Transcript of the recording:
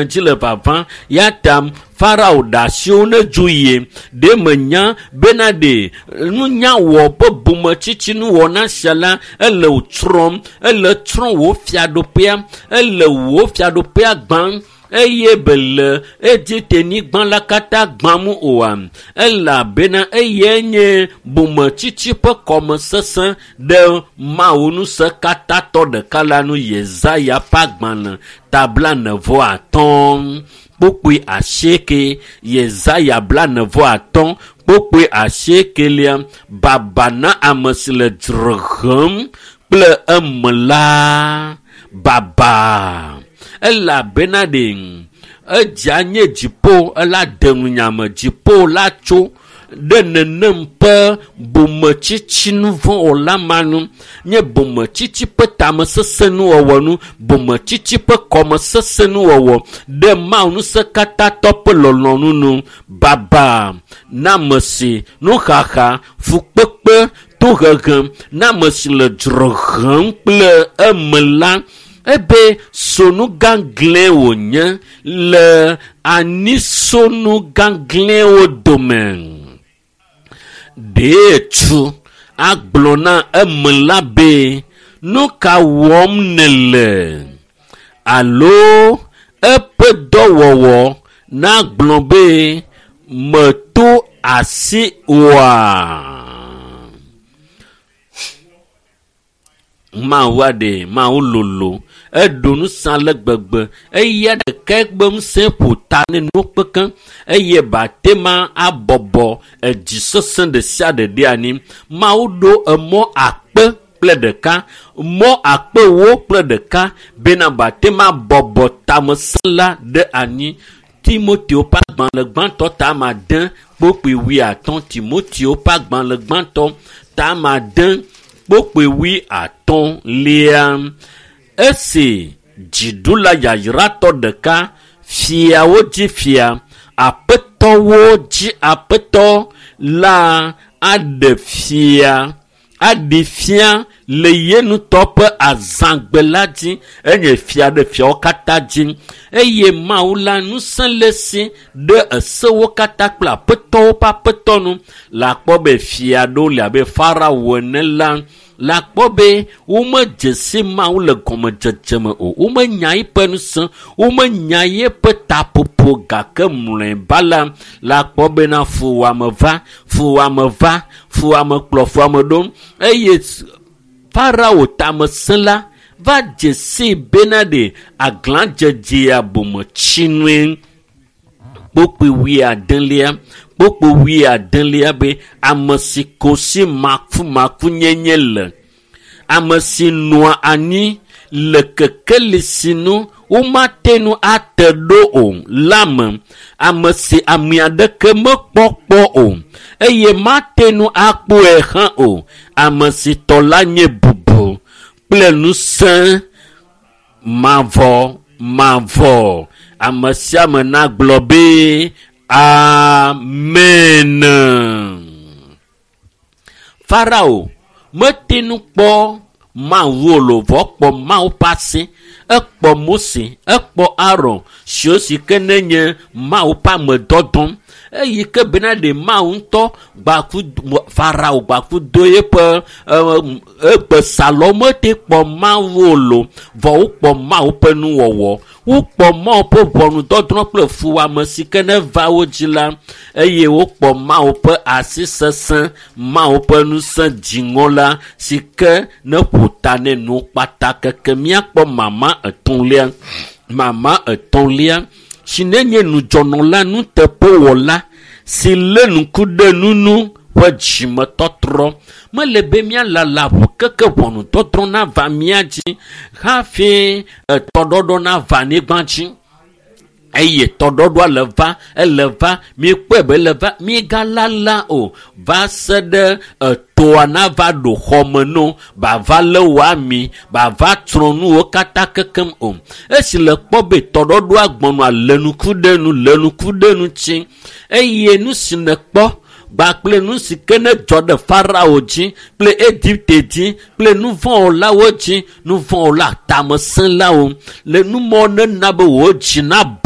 dzi le vavã ya ta Farao ɖe asiwo ne dzo yie. Ɖe menya bena ɖe nunya wɔ ƒe bometsitsi nuwɔna sia la ele wò tsrɔ̃m, ele tsrɔ̃ wò fiaɖuƒea, ele wò fiaɖuƒea gbãm eye bele Egipte-nyigba la katã gbãm oa? Elabena eyae nye bometsitsi ƒe kɔmesesẽ ɖe Mawu ŋusẽkatãtɔ ɖeka la nu Yesaya ƒe agbalẽ ta 45 kpukpui 8. Yesaya 45 kpukpui 8 baba na ame si le dzre hem kple eme la. Baba elabena ɖe edzea nye dziƒo ela de nu nyame dziƒo la tso ɖe nenem ƒe bometsitsi nuvɔ̃wɔla ma nu nye bometsitsi ƒe tamesesẽ nuwɔwɔ nu bometsitsi ƒe kɔmesesẽ nuwɔwɔ ɖe Mawu ŋusẽkatãtɔ ƒe lɔlɔ̃nu nu baba na ame si nuxaxa fukpekpe tohehe na ame si le dzre hem kple eme la ebe sonu gãglẽ wònye le anisonu gãglẽwo dome. Ɖee tsu agblɔ na eme la be nu ka wɔm nèle alo eƒe dɔwɔwɔ nagblɔ be meto asi oa? Mawu aɖe Mawu lolo eɖo ŋusẽ ale gbegbe eya ɖeka gbe ŋusẽ ƒo ta ne nuwo kpekpe eye bate ma abɔbɔ edzi sesẽ ɖe sia ɖe ɖe anyi. Mawu ɖo emɔ 1001 mɔ 4001 bena bate ma bɔbɔ tamesẽ la ɖe anyi. Timoteo ƒe agbalẽ gbãtɔ ta 6 kpukpui 50 Timoteo ƒe agbalẽ gbãtɔ ta 6 kpukpui 50. Esi dziɖula yayratɔ ɖeka fiawo dzi fia aƒetɔwo dzi aƒetɔ la aɖe fia aɖi fia le ye ŋutɔ ƒe azãgbe la dzi enye fia ɖe fiawo katã dzi eye Mawu la ŋusẽ le si ɖe esewo katã kple aƒetɔwo ƒe aƒetɔ nu le akpɔ be fia ɖewo le abe Farao ene la le akpɔ be womedze si Mawu le gɔmedzedze me o womenya eƒe ŋusẽ womenya eƒe taƒoƒo gake mlɔeba la le akpɔ bena fuwɔame va fuwɔame va fuwɔame kplɔ fuwɔame ɖo eye Farao tamesẽla va dze sii bena ɖe aglãdzedzea bometsinue. Kpukpui 90 kpukpui 90 be ame si ko si makumakunyenye le ame si nɔa anyi le kekeli si nu womate ŋu ate ɖo o la me ame si ame aɖeke mekpɔ kpɔ o eye mate ŋu akpɔe hã o ame si tɔ la nye bubu kple ŋusẽ mavɔ mavɔ. Ame sia ame nagblɔ be amen. Farao mete ŋu kpɔ Mawu o lo vɔ kpɔ Mawu ƒe asi ekpɔ Mose ekpɔ Aron siwo si ke nenye Mawu ƒe amedɔdɔ eyi ke bena ɖe Mawu ŋutɔ gbaku Farao gbaku do eƒe egbesalɔ mete kpɔ Mawu o lo vɔ wokpɔ Mawu ƒe nuwɔwɔ wokpɔ Mawu ƒe ʋɔnudɔdrɔ̃ kple fuwɔame si ke ne va wo dzi la eye wokpɔ Mawu ƒe asi sesẽ Mawu ƒe ŋusẽ dziŋɔ la si ke ne ƒo ta ne nu kpata keke míakpɔ mama etɔ̃lia si nenye nudzɔnɔla nuteƒewɔla si lé ŋku ɖe nunu ƒe dzimetɔtrɔ mele be míalala ʋu keke ʋɔnudɔdrɔ̃ nava mía dzi hafi etɔɖɔɖɔ nava anyigba dzi eye tɔɖɔɖɔa le va ele va míekpɔe be ele va míegalala o va se ɖe etoa nava ɖo xɔme no bava lé wò ami bava tsrɔ̃ nuwo katã kekem o esi le kpɔ be tɔɖɔɖɔa gbɔnɔa le ŋku ɖe nu le ŋku ɖe nu tsi eye nu si nèkpɔ kpakple nu si ke ne dzɔ ɖe Farao dzi kple Egipte dzi kple nuvɔ̃wɔlawo dzi nuvɔ̃wɔla tamesẽlawo le numɔ nena be wò dzi nabɔ.